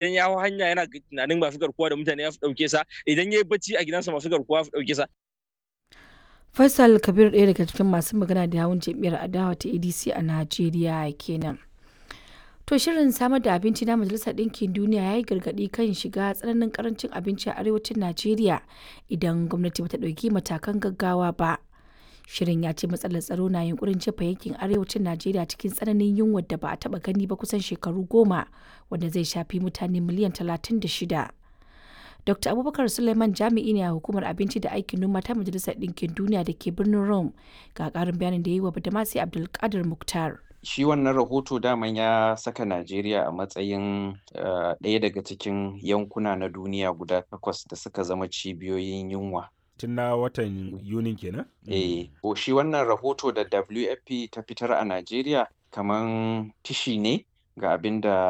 Idan ya hau hanya yana tunanin masu garkuwa da mutane ya fi ɗauke sa, idan ya yi bacci a gidansa masu garkuwa su ɗauke sa. Faisal Kabir ɗaya daga cikin masu magana da yawun jam'iyyar adawa ta ADC a Najeriya kenan. To shirin samar da abinci na Majalisar Ɗinkin Duniya ya yi gargaɗi kan shiga tsananin karancin abinci a arewacin Najeriya idan gwamnati bata ɗauki matakan gaggawa ba. Shirin ya ce matsalar tsaro na yunkurin jefa yankin arewacin Najeriya cikin tsananin yunwar da ba a taɓa gani ba kusan shekaru 10, wanda zai shafi mutane miliyan 36. Dr. Abubakar Suleiman jami'i ne a hukumar abinci da aikin noma ta Majalisar Ɗinkin Duniya da ke birnin Rome, ga ƙarin bayanin da ya yi wa Badamasi Abdulkadir Mukhtar. Shi wannan rahoto daman ya saka Najeriya a matsayin ɗaya daga cikin yankuna na duniya guda takwas da suka zama cibiyoyin yunwa. Tun na watan Yunin kenan? Eh, ko shi wannan rahoto da WFP ta fitar a Najeriya kaman tishi ne ga abin da